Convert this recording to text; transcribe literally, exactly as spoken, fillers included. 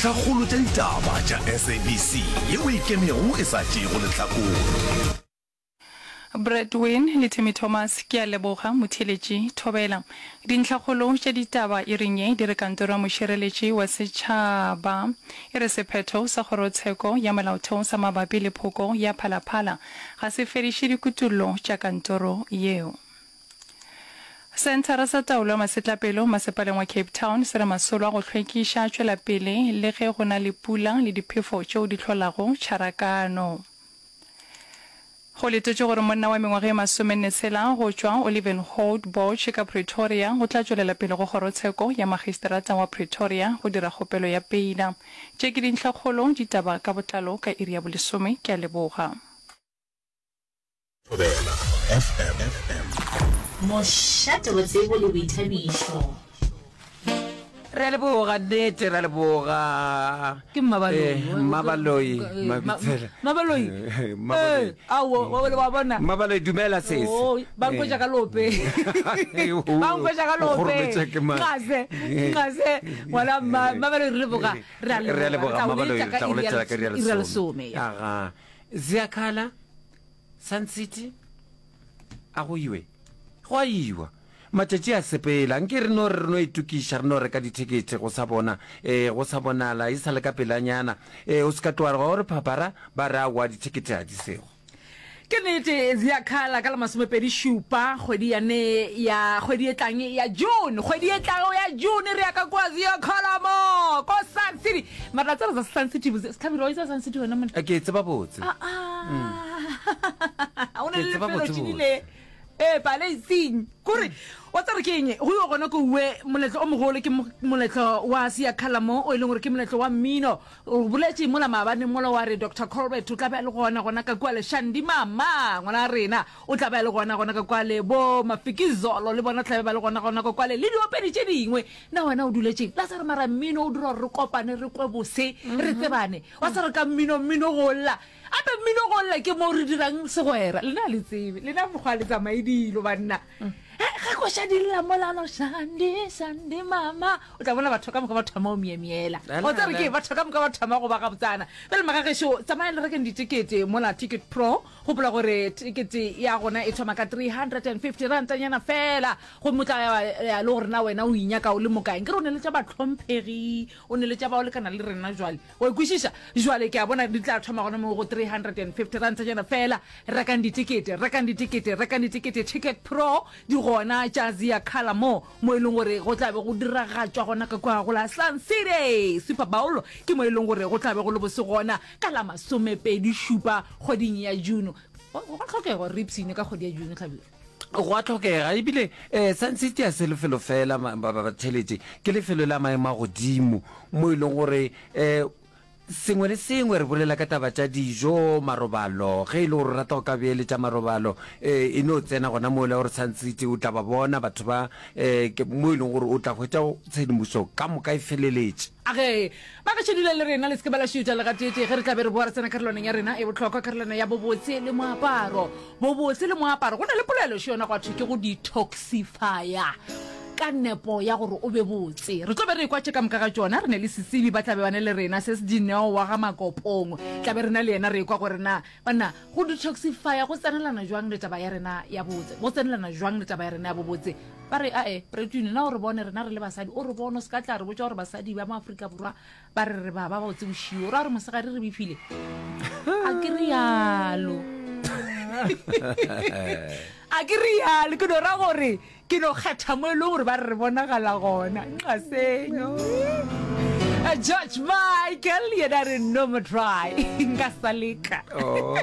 Dintlhakgolo tša ditaba tša S A B C yeo e ikemego e sa tšeego lehlakore. Bradwin le Timmy Thomas ke a leboga motheeletši thobela. Dintlhakgolo tša ditaba iring ye di re kantoro ya mošireletši wa setšhaba e re sephetho sa kgorotsheko ya molaotheo sa mabapi le phoko ya Phalaphala ga se fediše dikutullo tša kantoro yeo. Senthara sa taolo ya masetlapelo masepaleng wa Cape Town se re masolo a go hlwekiša a tšwela pele le ge go na le pula le diphefo tšeo di hlolago tšharakano. Go letetšwe gore monna wa mengwaga e masomenne tshela go tšwa Olivenhout Bosch ka Pretoria o tla tšwelela pele go kgorotsheko ya magistrata wa Pretoria go dira kgopelo ya peila. Tše ke dintlhakgolo ditaba ka botlalo ka iri ya bolesome. Ke a leboga. Thobela F M. Mošate wa tsebo le boithabišo. Re a leboga, nnete re a leboga. Ke Mmabaloi. Eh, Mmabaloi, Mabitsela. Mmabaloi. Mmabaloi. Eh, aowa, wa wa bona. Mmabaloi, dumela sesi. Oh, ba nkwetša ka lope. Ba nkwetša ka O lope. kgorometša ke mang? Nqase, nqase. Ngwana mma, Mmabaloi re leboga. Re a Re a leboga. leboga Re tla o Mmabaloi, letša re ka tla go iri ya letela ka iri ya iri ya lesome. lesome. Aga. Ziyakhala, Sun City, a go iwe. Go a iwa. Matšatši a sepela. Nke re no re re no itokiša, re no reka dithekethe go sa bona, ee, go sa bonala, e sa le ka pelanyana. Ee, o se ka tloga wa re phapara, ba re aowa dithekethe ga di sego. Ke nnete, Ziyakhala ka la masomepedi šupa kgwedi ya ne ya kgwedi e tlang ya June, kgwedi e tlago ya June re ya ka kua Ziyakhala mo ko Sun City. Mara la tseba za Sun City botse, Sehlabelo wa itse Sun City wena monna? Ke e tseba botse. Ah ah. O ne Ke le tseba lefelo botse tšinile. Ee, paleising. Kore wa tseba ke eng? Go yo gona ko uwe moletlo o mogolo ke moletlo wa Siyakhala mo o e leng gore ke moletlo wa mmino. O boletše mola maabane mola wa re Doctor Colbert o tla be a le gona gona ka kua le Shandy Mama ngwana rena o tla be a le gona gona ka kua le bo Mafikizolo le bona tla be ba le gona gona ka kua le le diopedi tše dingwe. Na wena o duletšeng? La tseba mara mmino o dira gore re kopane re kwe bose re tsebane. Wa tseba ka mmino mmino go lla. Ape mmino go lla ke mo re dirang segwera. Lena le tsebe. Lena mokgwa le tsamaye dilo banna. Ge koša di lla mola no Shandy Shandy Mama o tla bona batho ka moka ba thoma go myemyela. O tsere ke batho ka moka ba thoma go ba gabotsana. Pele magagešo tsamaya le rekeng ditekete mola Ticket Pro. Gopola gore tekete ya gona e thoma ka three hundred and fifty rantanyana fela. Gomme o tla ya le gore na wena o inyaka o le mokae. Nkere o ne le tša bahlomphegi, o ne le tša ba o lekana le rena jwale. Wa ikwešiša? Jwale ke a bona di tla thoma gona mo go three hundred and fifty rantanyana fela. Rekang ditekete, rekang ditekete, rekang ditekete. Ticket Pro di gona tša Ziyakhala mo mo e leng gore go tla be go diragatšwa gona ka kua go la Sun City Super Bowl ke mo e leng gore go tla be go le bose gona ka la masomepedi šupa kgweding ya June. Go go tlhokega gore re ipshine ka kgwedi ya June Hlabirwa. Go a tlhokega ebile um Sun City a se lefelo fela batheletše, ke lefelo la maemo a godimo mo e leng gore um sengwe le sengwe re bolela ka taba tša dijo, marobalo. Ge e le gore o rata go ka beeletša marobalo, um e no tsena gona mo le gore Sun City o tla ba bona batho ba um mo e leng gore o tla hwetša tshedimošo ka moka e feleletše. Age ba ka šedule le rena le se ke ba la šuta le gateetee ge re tla be re boa re tsena karolwaneng ya rena e bohlokwa, karolwana ya bobotse le moaparo. Bobotse le moaparo, go na le polelo še yona gwa thwe ke go detoxifya ka nepo ya gore o be botse. Re tlo be re ekwa tše ka moka ga tšona. Re ne le setsebi ba tla be ba ne le rena se se Dineo wa ga Makopong, tla be re na le yena re ekwa gore na banna go detoxifya go tsenelana jwang le taba ya rena ya botse, go tsenelana jwang le taba ya rena ya bobotse. Ba re ae Pretune na o re bone rena re le basadi, o re bone o se ka tla re botša gore basadi ba mo Afrika Borwa ba re re ba ba botse bošio, ra gore mosegare re befile. A ke rialo, a ke rialo, ke no ra gore ke no kgetha mo e leng gore ba re re bonagala gona. Nqasenyo George Michael yena re no mo try nka sa leka. Oh.